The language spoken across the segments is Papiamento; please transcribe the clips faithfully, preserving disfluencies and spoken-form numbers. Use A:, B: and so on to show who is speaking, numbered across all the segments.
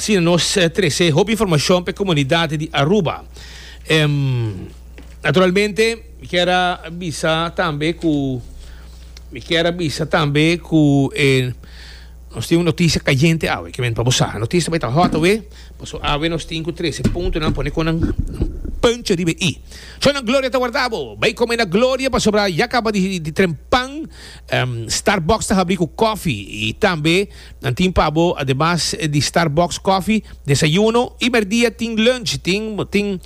A: Asina nos trece hopi informacion pa e comunidad di Aruba. Um, naturalmente, mi kier a bisa tambe cu mi kier a bisa tambe cu eh, nos tin un noticia cayente awe, ke men pa bo sa. Noticia bai ta hot awe, paso awe nos tin cu trece puntonan pone con nan puntje riba e i. Shownan Gloria ta warda bo. Bai come na Gloria pasobra ya caba di di trempan. Um, Starbucks ta habri cu koffie y tambe nan tin pa bo ademas di Starbucks koffie, desayuno y merdia tin lunch, tin tin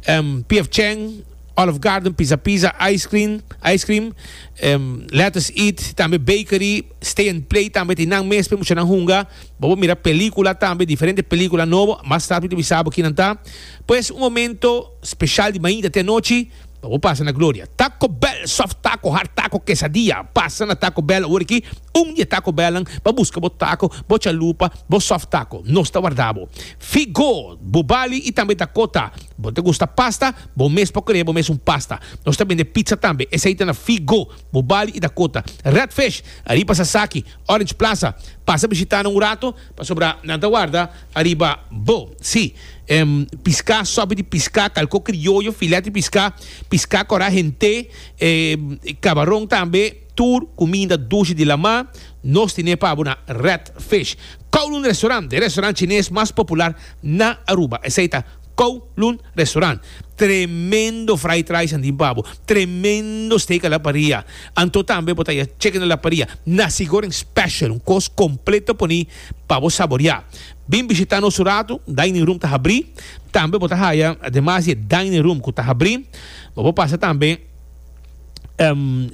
A: um, P F Chang, Olive Garden, Pizza Pizza, ice cream, ice cream, um, Let Us Eat, tambe bakery, Stay and Play tambe tin nan mes pe muchanan hunga. Bo por mira pelicula tambe, diferente pelicula nobo, mas tarde mi ta bisa bo kinan ta. Pues un momento special di mainta te anochi, pa bo pasa na Gloria. Taco Bell, soft taco, hard taco, quesadilla. Pasa na Taco Bell awor aki, un di e Taco Bellnan, pa busca bo taco, bo chalupa, bo soft taco. Nos ta warda bo. Figo, Bubali y tambe Dakota. Bo ta gusta pasta? Bo mes por crea bo mes un pasta. Nos ta bende pizza tambe. Esey ta na Figo, Bubali y Dakota. Red Fish, ariba Sasaki, Orange Plaza. Pasa bishita nan un rato, pasobra nan ta warda ariba bo. Sí, em, piská, sopi di piská, kalko krioyo, filet di piská, piská kòrá hent'é, em, kabaron tambe, tur kuminda dushi di lamá, nos tine pa bo na Red Fish. Kowloon Restaurant, e restaurant chines mas popular na Aruba. Esei ta Kowloon Restaurant. Tremendo fried rice nan tin pa bo, tremendo steak a la parrilla, anto tambe bo ta haya chicken a la parrilla, nasi goreng special, un cos completo poni pa bo saborea. Bin bishita nos un rato, dining room ta habri, tambe bo ta haya ademas di e dining room cu ta habri, bo por pasa tambe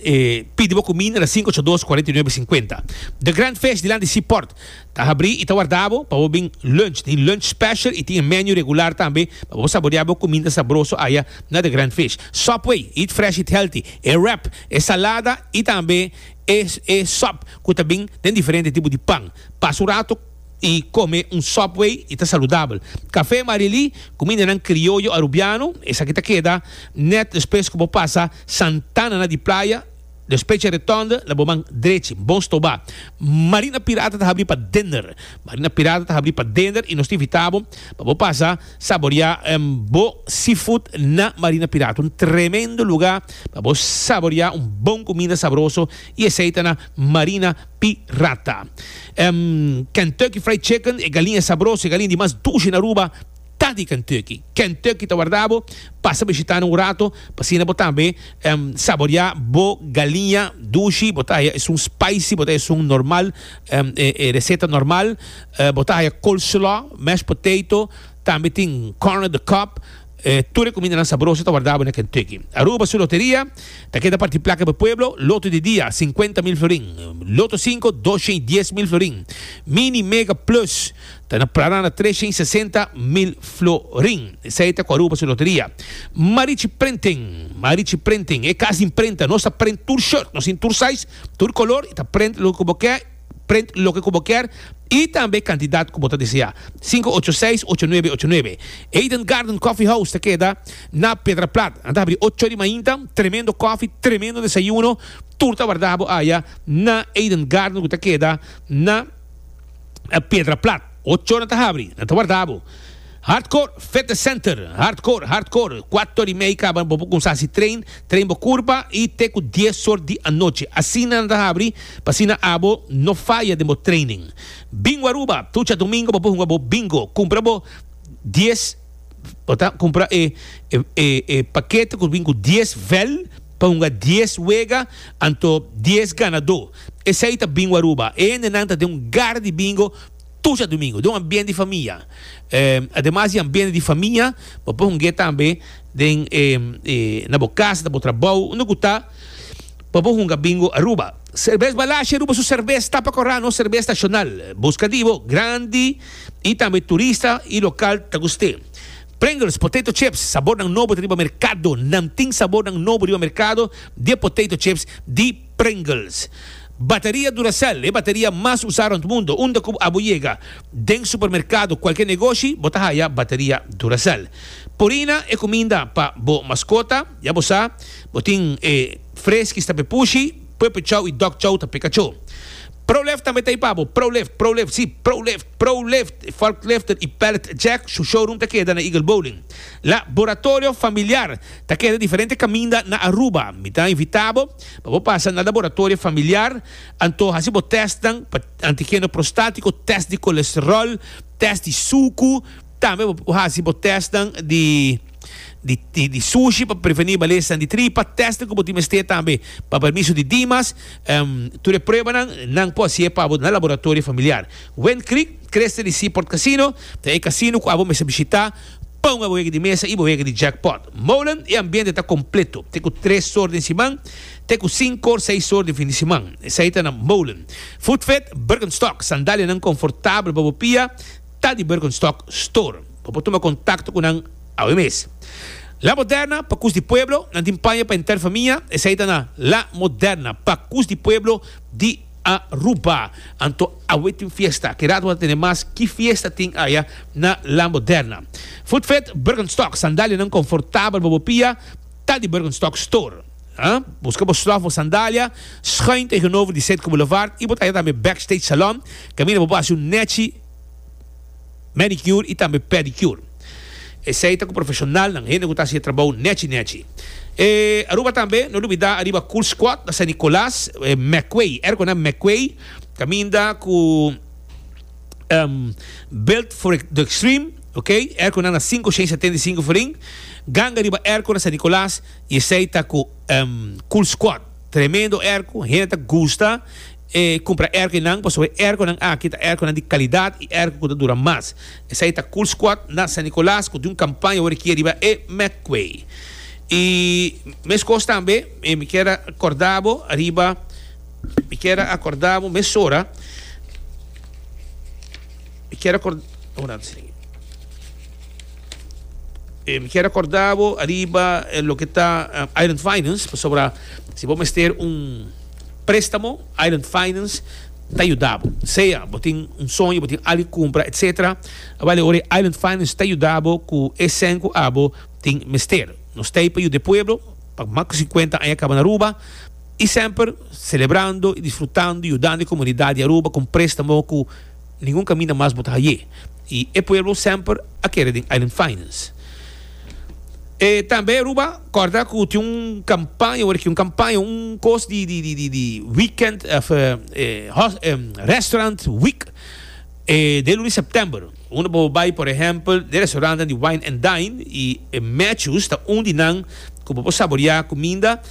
A: e pidi bo cuminda na sinku ocho dos cuarenta y nuebe sinkuenta. The Grand Fish dilanti Seaport ta habri y ta warda bo pa bo bin lunch. Tin lunch special y tin e menu regular tambe pa bo saborea bo cuminda sabroso aya na The Grand Fish. Subway, eat fresh, eat healthy. E wrap, e salada y tambe e e sop cu ta bin den diferente tipo di pan. Pasa un rato y come un Subway y ta saludabel. Café Marily, cumindanan crioyo Arubiano, esaki ta keda net despues cu bo pasa Santana na di Playa, despues dje retonde na bo man drechi. Bon stoba. Marina Pirata ta habri pa dinner. Marina Pirata ta habri pa dinner y nos ta invita bo pa bo pasa saborea bo seafood na Marina Pirata. Un tremendo lugar pa bo saborea un bon cuminda sabroso y esey ta na Marina Pirata. Kentucky Fried Chicken, e galiña sabroso, e galiña di mas dushi na Aruba, ta di Kentucky. Kentucky ta warda bo, pasa bishita nan un rato, pa asina bo tambe saborea bo galiña dushi. Bo ta haya esun spicy, bo ta haya esun normal, e receta normal, bo ta haya coleslaw, mashed potato, tambe tin corn on the cob. Tur e kumindanan sabroso ta warda bo na Kentucky. Aruba su loteria ta keda parti plaka pa pueblo, loto di dia, sinkuenta mil florin, loto sinku, dos shen i dies mil florin, mini mega plus ta na plana na tres shen i sesenta mil florin. Esei ta ku Aruba su loteria. Marichi Printing, Marichi Printing, e kas di imprenta, nos ta print tur shirt, nos tin tur size, tur kolor i ta print loke ku bo ke. Print loke ku bo kier i tambe kantidat ku bo ta desea. Sinku ocho seis, ocho nuebe ocho nuebe. Eden Garden Coffee House ta keda na Piedra Plat. Nan ta habri ocho di mainta. Tremendo kofi, tremendo desayuno. Tur ta warda bo aya na Eden Garden ku ta keda na Piedra Plat. Ocho nan ta habri, nan ta warda bo. Hardcore Fitness Center, Hardcore, Hardcore, kuater i mei kaba bo por kumsa hasi train, train bo kurpa i te ku dies or di anochi. Asina nan ta habri pa asina abo no faya den bo training. Bingo Aruba, tur djadumingo bo por hunga bo bingo. Kumpra bo dies, bo ta kumpra e e e pakete ku bin ku dies vel pa hunga dies wega, anto dies ganadó. Esei ta Bingo Aruba. E hendenan ta den un gara di bingo. Tur djadumingu, den un ambiente di famia. Ademas di ambiente di famia, bo por hung'é tambe den na bo kas, na bo trabou, unda ku ta, bo por hunga Bingo Aruba. Serbes Balashi Aruba su serbes ta pa kòrá nos serbes nashonal. Buska di bo, grandi i tambe turista i lokal ta gust'é. Pringles potato chips, sabornan nobo ta riba merkado. Nan tin sabornan nobo riba merkado di e potato chips di Pringles. Bateria Duracell, e bateria mas usá rond mundo. Unda ku abo yega, den supermerkado, kualke negoshi, bo ta haya bateria Duracell. Purina, e kuminda pa bo maskota. Ya bo sa, bo tin e Friskies ta pe pushi, Puppy Chow i Dog Chow ta pe kachó. ProLift tambe ta ey pa bo. ProLift, ProLift, si, ProLift, ProLift, forkliften y pallet jack, su showroom ta keda na Eagle Bowling. Laboratorio Familiar ta keda diferente caminda na Aruba. Mi ta invita bo pa bo pasa na Laboratorio Familiar, anto haci bo testnan pa antigeno prostatico, test di colesterol, test di sucu, tambe bo haci bo testnan di di di di sushi pa preveni malesa di tripa, testnan ku bo tin mester tambe pa permiso di Dimas, um, tur e pruebanan nan por hacié pa bo na Laboratorio Familiar. Wind Creek, Crystal di Seaport Casino, ta e casino ku abo mester bishita pa un wega di mesa y bo wega di jackpot. Molen, e ambiente ta completo, te ku tres or den siman, te ku sinku or, seis or di fin di siman. Esey ta na Molen. Footfit, Birkenstock, sandalianan comfortabel pa bo pia, ta di Birkenstock Store. Bo por tuma contacto cu nan awe mes. La Moderna, Pacus di Pueblo, nan tin paña pa henter famia, esey ta na La Moderna, Pacus di Pueblo di Aruba. Anto awe tin fiesta, ki rato bo ta tene mas ki fiesta tin aya na La Moderna. Footfit, Birkenstock, sandalianan confortabel pa bo pia, ta di Birkenstock Store. Ha? Busca bo slof bo sandalia, schuin tegenover di Citgo Boulevard y bo ta haya tambe Backstage Salon, caminda bo por haci un nechi manicure y tambe pedicure. Esey ta cu profesionalnan, hende cu ta haci e trabou nechi nechi. E Aruba tambe, no lubida ariba Cool Squad na San Nicolas, e McQuay, erco na McQuay, caminda cu um, Built for the Extreme, ok? Erco na na sinku shen setenta i sinku florin, ganga riba erco na San Nicolas y esey ta cu um, Cool Squad. Tremendo erco, hende ta gusta e cumpra erconan, pasobra e erconan aki ta erconan di calidad y erco cu ta dura mas. Esey ta Cool Squad na San Nicolas cu tin un campaña awor aki riba e McQuay. Y mescos tambe, mi kier a corda bo ariba, mi kier a acorda bo mesora, mi kier a acorda, un rato sini. Eh, mi kier a corda bo ariba eh, loke ta eh, Island Finance, pasobra si bo mester un préstamo, Island Finance ta yuda bo. Sea bo tin un soño, bo tin algo cumpra, etcétera. Awel ora Island Finance ta yuda bo cu e cen cu abo tin mester. Nos ta ey pa yuda e pueblo, pa mas cu cincuenta aña caba na Aruba, y semper celebrando y disfrutando y yudando e comunidad di Aruba cu un préstamo cu ningun caminda mas bo ta haye. Y e pueblo semper a kere den Island Finance. E tambe Aruba, corda cu tin un campaña, awor aki un campaña, un cos di, di, di, di, di weekend, of, eh, hos, eh, restaurant week, eh, de luna di september. Unda bo bay, por ehempel, de restaurantnan di Wine and Dine y e Matthews ta un di nan cu bo por saborea cuminda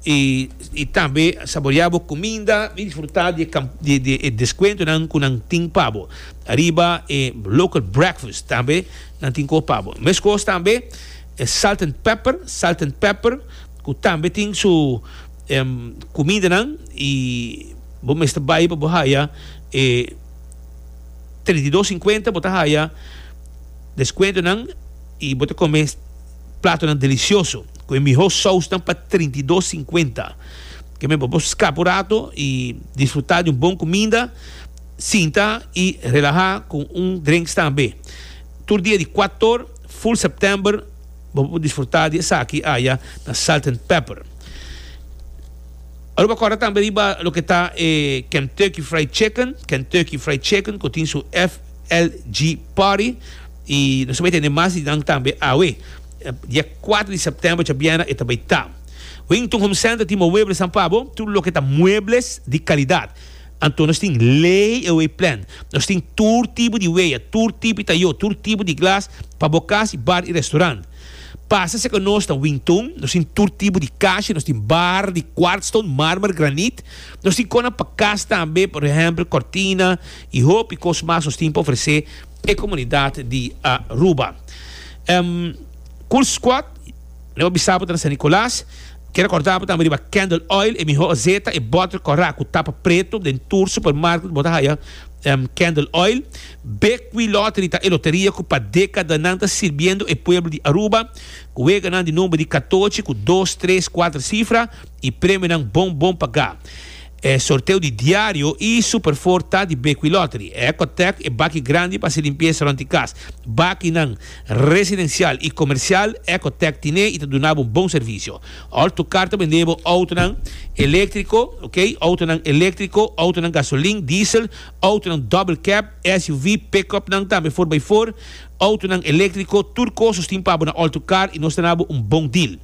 A: y, y tambe saborea bo cuminda y disfruta di e camp-, di, di e descuentonan cu nan tin pa bo. Ariba e local breakfast tambe nan tin cu pa bo. Mescos tambe e Salt and Pepper, Salt and Pepper, cu tambe tin su, em, cumindanan y bo mester bay pa bo haya e treinta i dos cincuenta, bo ta haya descuentonan y bo ta come platonan delicioso cu e miho sausnan pa treinta i dos cincuenta. Ke men bo por scapa un rato y disfruta di un bon cuminda, sinta y relaha cu un drinks tambe. Tur dia di cuator, full september, bo por disfruta di esaki aya na Salt and Pepper. Aruba corda tambe riba loke ta e Kentucky Fried Chicken, Kentucky Fried Chicken cu tin su F L G Party y nos ta bay tene mas di nan tambe awe. Dia cuatro di september djabiena e ta bay ta. Wington Home Center tin muebles nan pa bo, tur loke ta muebles di calidad. Anto nos tin lay away plan, nos tin tur tipo di weya, tur tipo di tayo, tur tipo di glas pa bo cas y bar y restaurant. Pasa seca nos na Wington, nos tin tur tipo di cashi, nos tin bar di quartzstone, marmer, granit, nos tin cona pa cas tambe, por ejemplo, cortina y hopi cos mas nos tin pa ofrece e comunidad di Aruba. Em, Cool Squad, leo bisabo na San Nicolas. Quiero recordar tambe riba Candle Oil, e miho azeta, e bottle cora cu tapa preto, den tur supermarket, bota haya, em, Candle Oil. Bequi Lottery ta e loteria cu pa decadanan ta sirbiendo e pueblo di Aruba. Cu weganan di nomber di catochi cu dos, tres, cuatro cifra y premionan bon bon paga. Eh, sorteo di diario y Super Four ta di Bequi Lottery. Ecotec e baki grandi pa haci limpieza rond di cas. Bakinan residencial y comercial Ecotec tin e y ta duna bo un bon servicio. Auto Car ta bende bo autonan electrico, ok? Autonan electrico, autonan gasolin, diesel, autonan double cab, S U V, pickup nan tambe cuater pa cuater, autonan electrico, tur cos tin pa bo na Auto Car y nos ta duna bo un bon deal.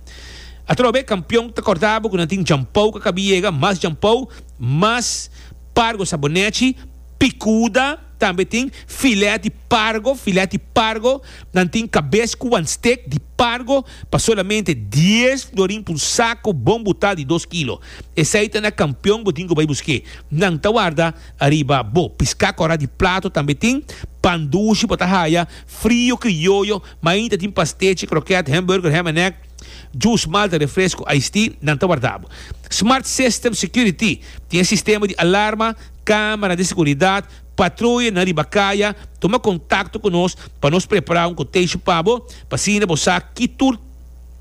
A: Atrobe, Campeon ta corda bo cu nan tin shampoo cu a caba di yega, mas shampoo, mas Pargo sabonete, picuda, tambe tin filet di pargo, filet di pargo, nan tin cabes cu one stick di pargo, pa solamente dies florin pa un saco bon bota di dos kilo. Esey ta na Campeon, bo tin cu bay busca. Nan ta warda ariba bo. Pisca cora di plato tambe tin, pan dushi, bo ta haya, frio crioyo, mas ainda tin pastechi, croquette, hamburger, ham and egg, juice, malta, refresco, iced tea, nan ta warda bo. Smart System Security tin sistema di alarma, camera di seguridad, patruya na riba caya. Tuma contacto cu nos pa nos prepara un quotation pa bo, pa asina bo sa ki tur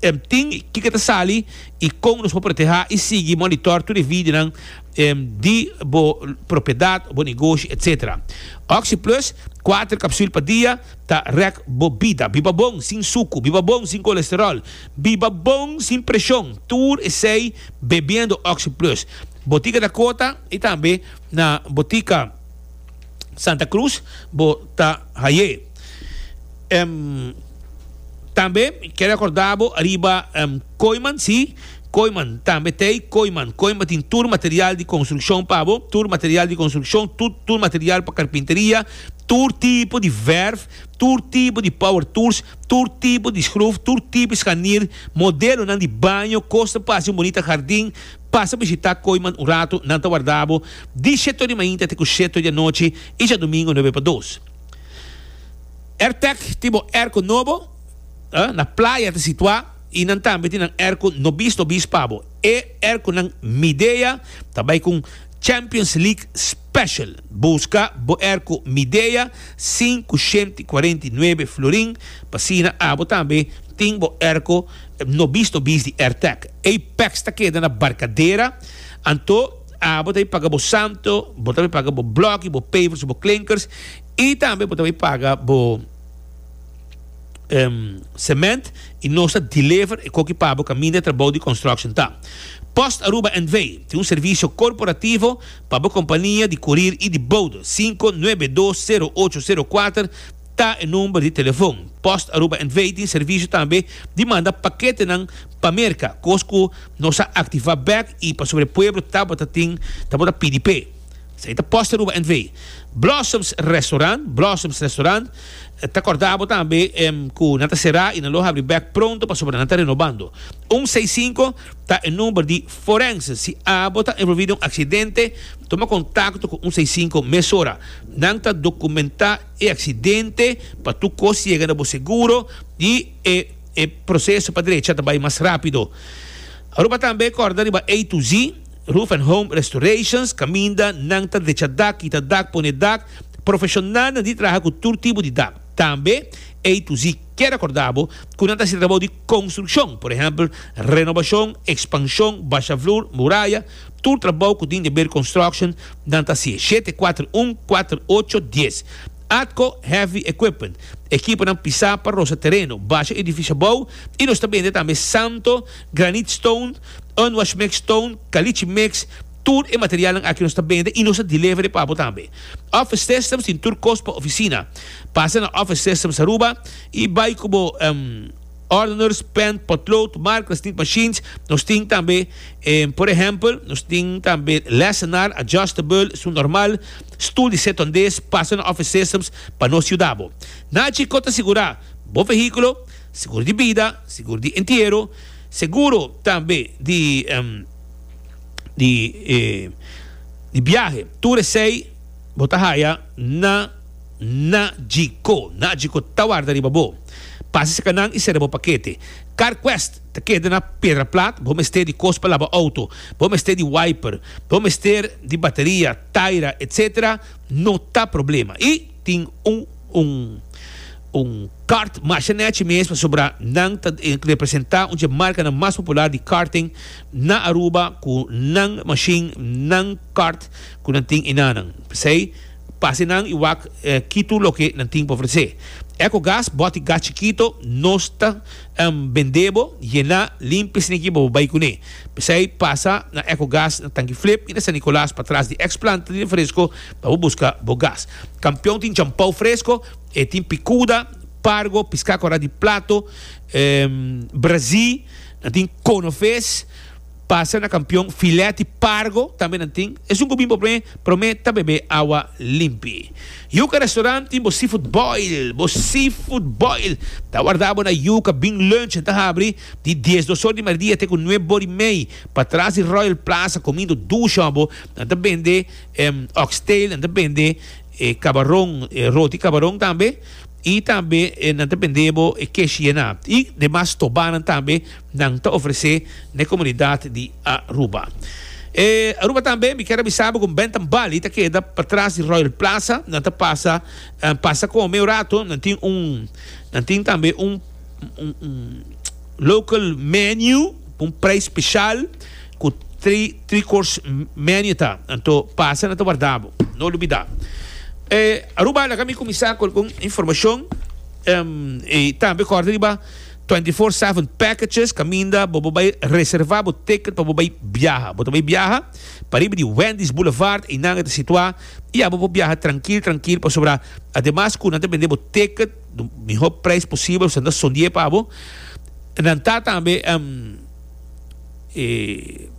A: um, tin cu ta sali y con nos por protege y sigui monitor tur e video um, di bo propiedad, bo negoshi, et cetera. Oxi Plus, cuater capsule pa dia, ta rek bo bida. Biba bon sin suco, biba bon sin colesterol, biba bon sin presion. Tur esey bebiendo Oxi Plus. Botica Dakota y tambe na Botica Santa Cruz, bo ta hay'e. Um, tambe kier recorda bo ariba um, Kooyman, si, Kooyman tambe tin Kooyman. Kooyman tin tur material di construccion pa bo, tur material di construccion, tur, tur material pa carpinteria, tur tipo di verf, tur tipo di power tools, tur tipo di schroef, tur tipo di scharnier, modelo nan di baño, cos pa un bunita jardin. Pasa bishita Kooyman un rato, nan ta warda bo, di shete di mainta te shete di anochi y diadomingo nuebe pa dos. AirTech, tipo airco nobo, eh, na Playa ta situa y nan tambe tin airco nobis nobis pa bo. E airco nan Midea tambe cu Champions League Special. Busca bo airco Midea, cinco shen cuarenta y nuebe florin, pa asina abo tambe tin bo airco nobis nobis di AirTech. Apex ta keda na Barcadera, anto abo ta paga bo santo, bo ta paga bo block, bo pavers, bo klinkers y tambe bo ta paga bo um, cement y nos ta deliver e cos pa bo caminda trabou di construction ta. Post Aruba N V tin un servicio corporativo pa bo compania di courier y di bode. cinco nuebe dos cero ocho cero cuater ta e number di telefon. Post Aruba N V tin servicio tambe di manda pakete nan pa Merca. Cos cu nos a activa back y pa sobre pueblo tabata tin tabata P D P. Esey ta Post Aruba N V. Blossoms Restaurant, Blossoms Restaurant, ta corda bo tambe um, cu nan ta sera y nan lo habri back pronto pasobra nan ta renovando. un seis cinco ta e number di forense. Si abo ta envolvi den un accidente, tuma contacto cu un seis cinco mesora. Nan ta documenta e accidente pa tur cos yega na bo seguro y e, e proceso pa drecha tambe mas rapido. Aruba tambe corda riba A to Z, Roof and Home Restorations, caminda nan ta drecha dak, kita dak, pone dak, profesional na di traha cu tur tipo di dak. Tambe A to Z kier recorda bo cu nan ta trabou di construccion, por ehempel, renovacion, expansion, basha vloer, muraya, tur trabou cu tin di haber construction, nan ta shete cuater un cuater ocho dies. Atco Heavy Equipment, ekipo nan pisa pa rosa tereno, basha edificio abou, y nos tambe tambe santo, granite stone, unwash mix stone, caliche mix, tur e material aki nos ta bende y nos ta delivery pa bo tambe. Office Systems tin tur cos pa oficina. Pasa na Office Systems Aruba y bay cu um, ordners, pen, potlood, markers, ink machines. Nos tin tambe, eh, por ehempel, nos tin tambe lessenaar, adjustable, su normal, stoel di setondes. Pasa na Office Systems pa nos yuda bo. Nachi ta sigura bo vehiculo, seguro di bida, seguro di entiero, seguro tambe di um, di, eh, di biahe. Tur esey bo ta haya na Nagico. Nagico ta warda riba bo. Pasa serca nan y sera bo pakete. CarQuest ta keda na Piedra Plat, bo mester di cos pa laba auto, bo mester di wiper, bo mester di bateria, taira, et cetera. No ta problema. Y tin un un Un kart masha nechi mes pasobra nan ta representa un dje marcanan mas popular di karting na Aruba cu nan machine, nan kart cu nan tin enanan. P'esey pasa nan y wak ki tur loke nan tin pa ofrece. Ecogas, boti gas chikito, nos ta bende bo, yena, limpia esaki pa bo bay cune. P'esey pasa na Ecogas na Tanki Flip y na San Nicolas patras di ex planta di refresco pa bo busca bo gas. Campeon tin champou fresco. E tin picuda, pargo, pisca cora di plato, brazi, nan tin conoves, pasa na Campeon, filet di pargo tambe nan tin. Esun cu bin por prome, prome ta bebe awa limpi. Yuca Restaurant tin bo seafood boil, bo seafood boil ta warda bo na Yuca, bin lunch, nan ta habri di diesdos or di merdia te cu nuebe or y mei, patras di Royal Plaza, comindo dushi abo, nan ta bende oxtail, nan ta bende E kabaron, e roti kabaron tambe, i tambe nan ta bende bo e keshi yená. I demas tobanan tambe nan ta ofresé na e komunidat di Aruba. E Aruba tambe mi kier a bisa bo ku Bentham Bali ta keda patras di Royal Plaza. Nan ta pasa pasa kome un rato. Nan tin un nan tin tambe un un un local menu ku un prijs speshal ku Tri tri course menu ta anto pasa nan ta warda bo no lubida e Aruba laga mi cuminsa cu algun informacion y tambe corda riba twenty four seven packages caminda bo bo bay reserva bo ticket pa bo bay biaha bo ta bay biaha pariba di Wendy's Boulevard eynan e ta situa y abo por biaha trankil trankil pasobra ademas cu nan ta bende bo ticket di miho prijs posibel pasobra nan ta sondie pa bo nan ta tambe. E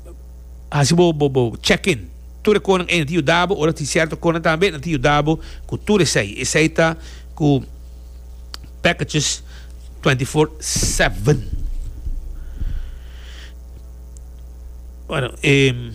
A: hasi bo bo bo check in tur e konan ei nan ta yuda bo ora tin sierto konan tambe nan ta yuda bo ku tur esei esei ta ku packages twenty four seven bueno e.